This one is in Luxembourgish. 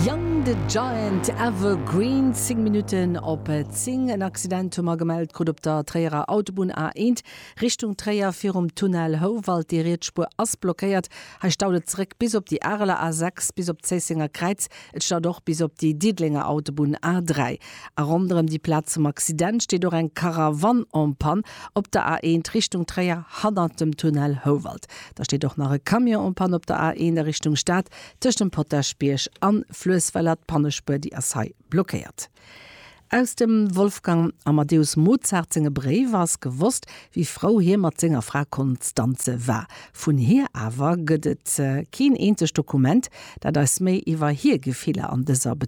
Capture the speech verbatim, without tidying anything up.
Young the Giant Evergreen zéng Minutten op zéng. En Accident hu mer gemellt krut op der Tréierer Autobunn A eent Richtung Tréier virum Tunnel Houwald. Déi riets Spuer ass blockéiert. Hei staut et zeréck bis op déi Areler A sechs, bis op d'Zéissenger Kräiz. Et staut och bis op déi Diddelenger Autobunn A dräi. A ronderëm déi Plaz vum Accident steet och eng Karawann en panne op der A eent Richtung Tréier hannert dem Tunnel Houwald. Da steet och nach e Camion en panne op der A eent a Richtung Stad tëscht dem Potaschbierg an Fluessweller. D'Pannespuer déi ass hei blockéiert. Aus dem Wolfgang Amadeus Mozart senge Bréiwer ass gewosst, wéi frou hie mat senger Fra Constanze war. Vun hir awer gëtt et keen eenzegt Dokument, dat eis méi iwwer hir Gefiller an dëser Bezéiung